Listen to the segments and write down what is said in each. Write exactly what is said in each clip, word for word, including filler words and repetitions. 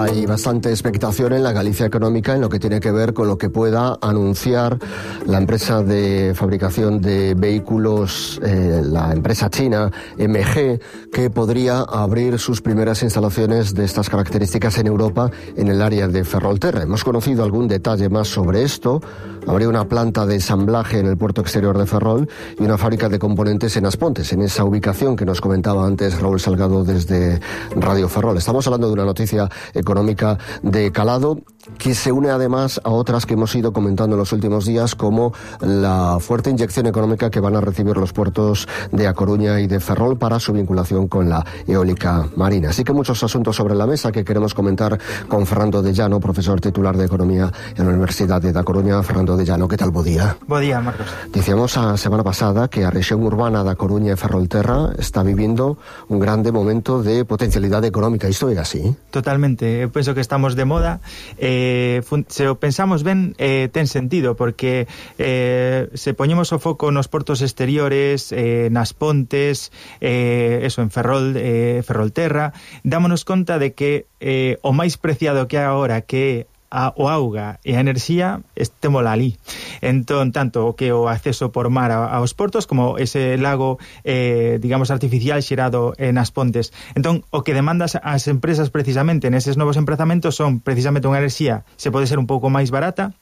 hay bastante expectación en la Galicia económica en lo que tiene que ver con lo que pueda anunciar la empresa de fabricación de vehículos, eh, la empresa china M G, que podría abrir sus primeras instalaciones de estas características en Europa, en el área de Ferrolterra. Hemos conocido algún detalle más sobre esto. Habría una planta de ensamblaje en el puerto exterior de Ferrol y una fábrica de componentes en Aspontes, en esa ubicación que nos comentaba antes Raúl Salgado desde Radio Ferrol. Estamos hablando de una noticia económica de calado que se une además a otras que hemos ido comentando en los últimos días, como la fuerte inyección económica que van a recibir los puertos de A Coruña y de Ferrol para su vinculación con la eólica marina. Así que muchos asuntos sobre la mesa que queremos comentar con Fernando de Llano, profesor titular de Economía en la Universidad de A Coruña. Fernando de Llano, que tal? Bo día. Bo día, Marcos. Dicíamos a semana pasada que a rexión urbana da Coruña e Ferrolterra está vivindo un grande momento de potencialidade económica. Isto é así? Totalmente. Eu penso que estamos de moda. Eh, se o pensamos ben, eh, ten sentido, porque eh, se poñemos o foco nos portos exteriores, eh, nas pontes, eh, eso, en Ferrol, eh, Ferrolterra, dámonos conta de que eh, o máis preciado que hai agora, que a, o auga e a enerxía, estémola ali. Entón, tanto o que o acceso por mar a, aos portos, como ese lago, eh, digamos, artificial xerado eh, nas pontes. Entón, o que demandas as empresas precisamente neses novos emprazamentos son precisamente unha enerxía, se pode ser un pouco máis barata,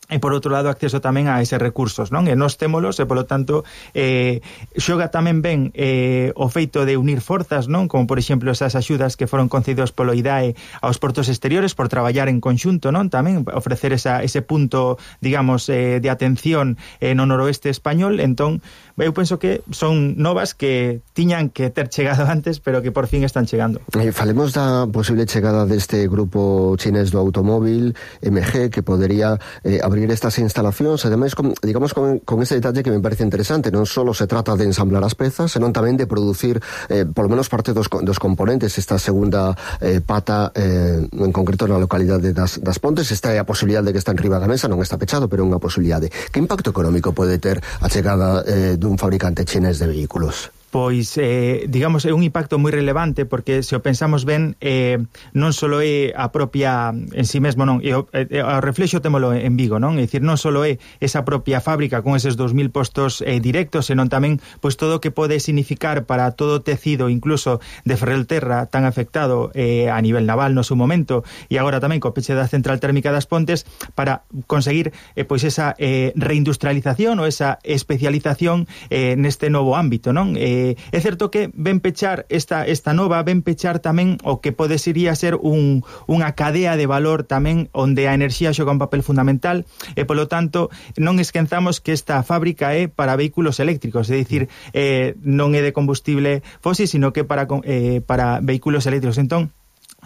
e por outro lado acceso tamén a eses recursos, non? E nós témolos, e polo tanto eh, xoga tamén ben eh, o feito de unir forzas, non? Como por exemplo esas axudas que foron concedidos polo I D A E aos portos exteriores por traballar en conxunto, non? Tamén ofrecer esa, ese punto, digamos, eh, de atención eh, no noroeste español. Entón, eu penso que son novas que tiñan que ter chegado antes, pero que por fin están chegando. Eh, falemos da posible chegada deste grupo chinés do automóvil M G, que podería eh, abrir estas instalacións, ademais, con, digamos, con, con ese detalle que me parece interesante. Non só se trata de ensamblar as pezas, senón tamén de producir eh, polo menos parte dos, dos componentes. Esta segunda eh, pata, eh, en concreto na localidade das, das Pontes, esta é a posibilidade de que está en riba da mesa, non está pechado, pero é unha posibilidade. Que impacto económico pode ter a chegada eh, dun fabricante chinés de vehículos? Pois, eh, digamos, é un impacto moi relevante, porque se o pensamos ben, eh, non só é a propia en si mesmo, non, e o, e, o reflexo témolo en Vigo, non? É dicir, non só é esa propia fábrica con eses dos mil postos eh, directos, senón tamén, pois, todo o que pode significar para todo o tecido, incluso de Ferrolterra, tan afectado eh, a nivel naval no seu momento, e agora tamén co peche da central térmica das Pontes, para conseguir, eh, pois, esa eh, reindustrialización ou esa especialización eh, neste novo ámbito, non? Eh, É certo que ven pechar esta, esta nova, ven pechar tamén o que pode sería ser un, unha cadea de valor tamén onde a enerxía xoga un papel fundamental, e polo tanto non esquenzamos que esta fábrica é para vehículos eléctricos, é dicir, eh, non é de combustible fósil, sino que para, eh, para vehículos eléctricos. Entón,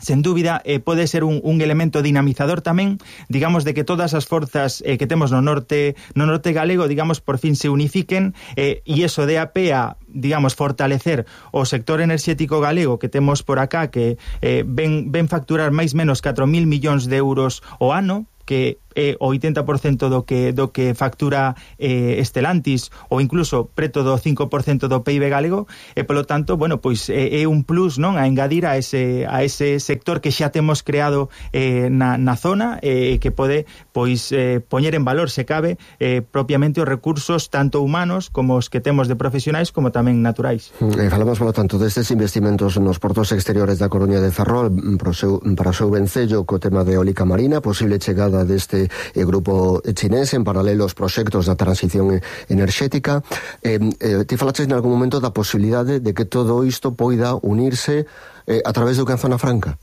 sen dúbida, eh, pode ser un, un elemento dinamizador tamén, digamos, de que todas as forzas eh, que temos no norte no norte galego, digamos, por fin se unifiquen, eh, e iso de a pé a, digamos, fortalecer o sector enerxético galego que temos por acá, que eh, ven, ven facturar máis menos catro mil millóns de euros o ano, que é o oitenta por cento do que do que factura eh, Stellantis, ou incluso preto do cinco por cento do P I B galego, e polo tanto, bueno, pois é, é un plus, non, a engadir a ese a ese sector que xa temos creado eh, na, na zona, e eh, que pode pois eh, poñer en valor, se cabe, eh, propiamente os recursos tanto humanos como os que temos de profesionais como tamén naturais. Eh, falamos, polo tanto, destes investimentos nos portos exteriores da Coruña de Ferrol para o seu, para o seu vencello co tema de eólica marina, posible chegada deste eh, grupo chinés, en paralelo aos proxectos da transición enerxética. Eh, eh, ti falaches en algún momento da posibilidade de que todo isto poida unirse eh, a través do que é a Zona Franca.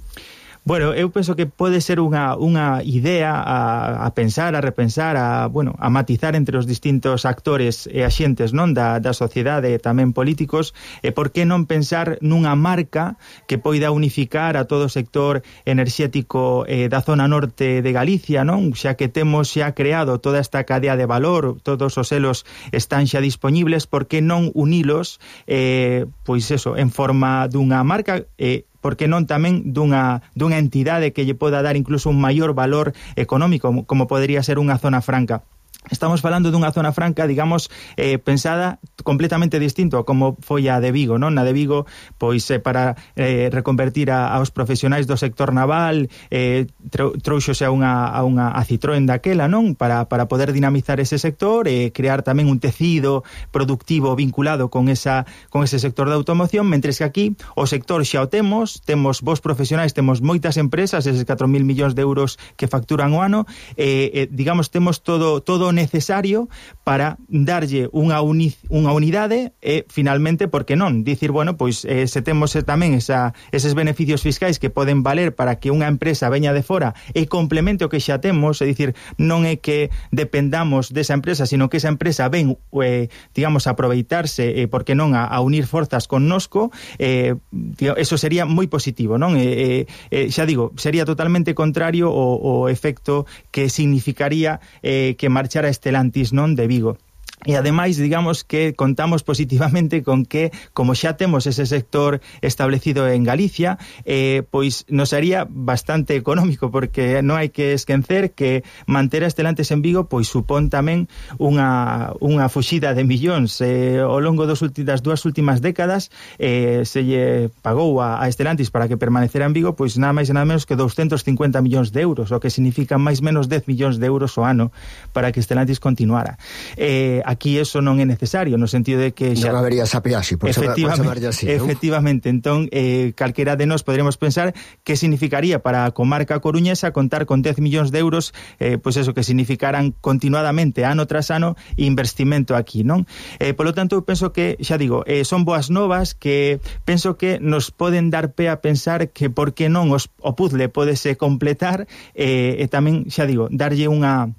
Bueno, eu penso que pode ser unha, unha idea a, a pensar, a repensar, a, bueno, a matizar entre os distintos actores e axentes, non, da, da sociedade e tamén políticos, e por que non pensar nunha marca que poida unificar a todo o sector enerxético eh, da zona norte de Galicia, non? Xa que temos xa creado toda esta cadea de valor, todos os elos están xa disponibles, por que non unilos, eh, pois eso, en forma dunha marca, eh, porque non tamén dunha, dunha entidade que lle poda dar incluso un maior valor económico, como, como podería ser unha zona franca. Estamos falando dunha zona franca, digamos, eh, pensada completamente distinto a como foi a de Vigo, non? Na de Vigo, pois, eh, para eh, reconvertir a, aos profesionais do sector naval, eh, trouxose a unha, a unha a Citroën daquela, non? Para, para poder dinamizar ese sector e eh, crear tamén un tecido productivo vinculado con esa con ese sector da automoción, mentres que aquí o sector xa o temos, temos vos profesionais, temos moitas empresas, eses catro mil millóns de euros que facturan o ano, eh, eh, digamos, temos todo todo necesario para darlle unha, uni, unha unidade e, finalmente, por que non? Dicir, bueno, pois eh, se temos tamén esa, eses beneficios fiscais que poden valer para que unha empresa veña de fora e complemente o que xa temos, é dicir, non é que dependamos desa empresa, sino que esa empresa ven, eh, digamos, a aproveitarse, eh, por que non, a, a unir forzas connosco, eh, eso sería moi positivo, non? Eh, eh, xa digo, sería totalmente contrario o, o efecto que significaría eh, que marchara Stellantis, non, de Vigo. E ademais, digamos que contamos positivamente con que, como xa temos ese sector establecido en Galicia, eh, pois nos sería bastante económico, porque non hai que esquecer que manter a Stellantis en Vigo pois supón tamén unha, unha fuxida de millóns. Eh, ao longo dos ulti, das dúas últimas décadas eh, se lle pagou a, a Stellantis para que permanecera en Vigo pois nada máis e nada menos que doscientos cincuenta millóns de euros, o que significa máis menos dez millóns de euros ao ano para que Stellantis continuara. Eh, aquí eso non é necesario, no sentido de que xa... Non habería esa peaxe, por chamarlle así, non? Efectivamente, entón, eh, calquera de nós poderíamos pensar que significaría para a comarca coruñesa contar con dez millóns de euros, eh, pois eso, que significaran continuadamente, ano tras ano, investimento aquí, non? Eh, polo tanto, eu penso que, xa digo, eh, son boas novas que penso que nos poden dar pé a pensar que por que non os, o puzzle podese completar eh, e tamén, xa digo, darlle unha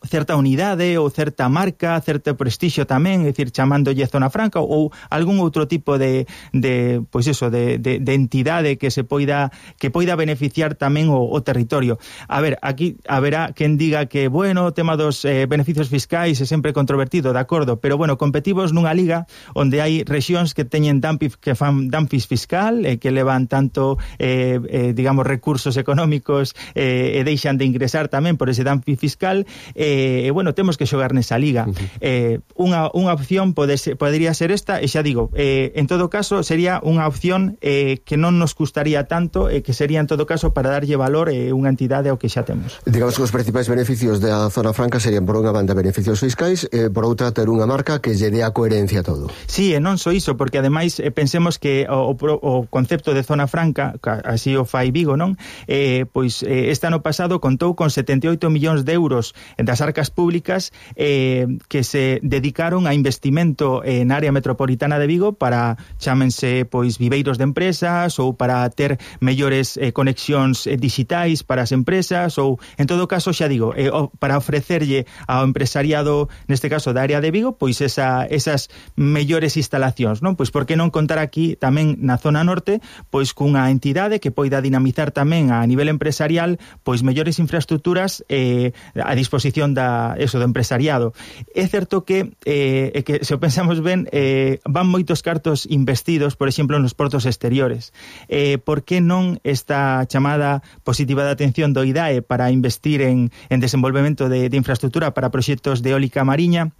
certa unidade ou certa marca, certo prestixio tamén, é dicir, chamándolle Zona Franca ou algún outro tipo de, de pois eso, de, de, de entidade que se poida que poida beneficiar tamén o, o territorio. A ver, aquí haberá quen diga que, bueno, o tema dos eh, beneficios fiscais é sempre controvertido, de acordo, pero bueno, competimos nunha liga onde hai rexións que teñen dumping, que fan dumping fiscal, eh, que levan tanto eh, eh, digamos, recursos económicos eh, e deixan de ingresar tamén por ese dumping fiscal. eh, E, eh, bueno, temos que xogar nesa liga. Uh-huh. eh, unha, unha opción pode ser, podería ser esta, e xa digo, eh, en todo caso, sería unha opción eh, que non nos custaría tanto, e eh, que sería en todo caso para darlle valor eh, unha entidade ao que xa temos. Digamos que os principais beneficios da Zona Franca serían, por unha banda, beneficios fiscais, e por outra, ter unha marca que lle dé a coherencia a todo. Sí, e non só iso, porque ademais eh, pensemos que o, o, o concepto de Zona Franca, así o fai Vigo, non? Eh, pois eh, este ano pasado contou con setenta e oito millóns de euros das arcas públicas eh, que se dedicaron a investimento en área metropolitana de Vigo para, chámense, pois, viveiros de empresas ou para ter mellores eh, conexións eh, digitais para as empresas ou, en todo caso, xa digo, eh, o, para ofrecerlle ao empresariado, neste caso da área de Vigo, pois esa, esas mellores instalacións, non? Pois por que non contar aquí tamén na zona norte, pois cunha entidade que poida dinamizar tamén a nivel empresarial, pois mellores infraestructuras eh, a disposición da, eso, do empresariado. É certo que, eh, que se o pensamos ben, eh, van moitos cartos investidos, por exemplo, nos portos exteriores. Eh, por que non esta chamada positiva de atención do I D A E para investir en, en desenvolvemento de, de infraestructura para proxectos de eólica mariña?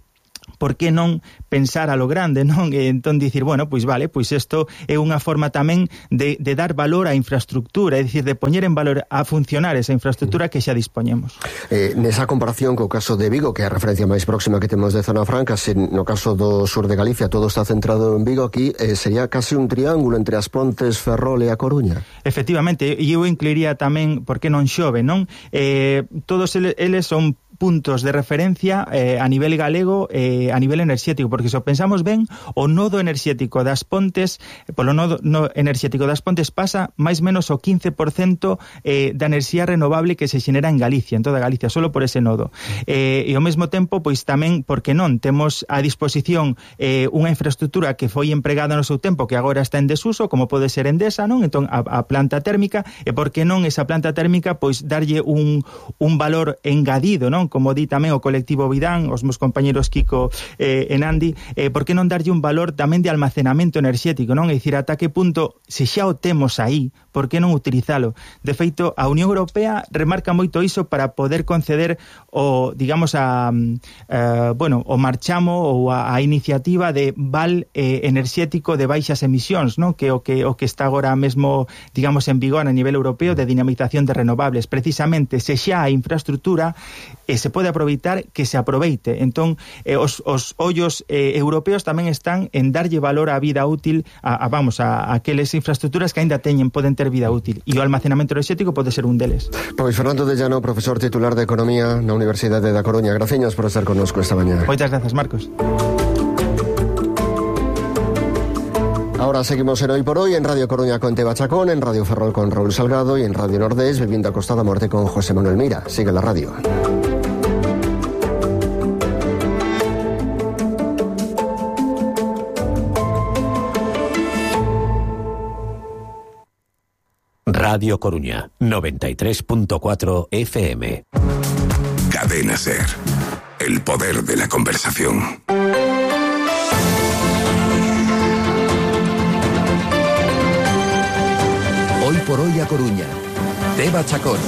Por que non pensar a lo grande, non? E entón dicir, bueno, pois vale, pois isto é unha forma tamén de, de dar valor á infraestructura, é dicir, de poñer en valor a funcionar esa infraestructura que xa dispoñemos. Eh, nesa comparación co caso de Vigo, que é a referencia máis próxima que temos de Zona Franca, se no caso do sur de Galicia todo está centrado en Vigo, aquí eh, sería case un triángulo entre as Pontes, Ferrol e a Coruña. Efectivamente, e eu incluiría tamén, por que non Xove, non? Eh, todos eles, eles son puntos de referencia eh, a nivel galego, eh, a nivel enerxético, porque se o pensamos ben, o nodo enerxético das Pontes, polo nodo no enerxético das Pontes pasa máis menos o quince por cento eh, da enerxía renovable que se xenera en Galicia, en toda Galicia, solo por ese nodo. Eh, e ao mesmo tempo, pois tamén, porque non, temos a disposición eh, unha infraestructura que foi empregada no seu tempo, que agora está en desuso, como pode ser Endesa, non? Entón, a, a planta térmica, e porque non esa planta térmica, pois darlle un, un valor engadido, non? como di tamén o colectivo Vidán, os meus compañeros Kiko eh, e Nandi, eh, por que non darlle un valor tamén de almacenamento enerxético, non? É dicir, ata que punto, se xa o temos aí, por que non utilizalo? De feito, a Unión Europea remarca moito iso para poder conceder o, digamos, a, a bueno, o marchamo ou a, a iniciativa de val eh, enerxético de baixas emisións, non? Que o que o que está agora mesmo, digamos, en vigor a nivel europeo de dinamización de renovables. Precisamente, se xa a infraestructura eh, se pode aproveitar, que se aproveite. Entón, eh, os, os ollos eh, europeos tamén están en darlle valor á vida útil a, a vamos, a, a aqueles infraestructuras que aínda teñen, poden ter vida útil. E o almacenamento enerxético pode ser un deles. Pois Fernando de Llano, profesor titular de Economía na Universidade da Coruña. Graciñas por estar connosco esta mañá. Moitas grazas, Marcos. Ahora seguimos en Hoy por Hoy, en Radio Coruña con Teba Chacón, en Radio Ferrol con Raúl Salgado y en Radio Nordés, viviendo a Costa da Morte con José Manuel Mira. Sigue la radio. Radio Coruña, noventa y tres punto cuatro F M. Cadena SER. El poder de la conversación. Hoy por Hoy a Coruña. Teba Chacón.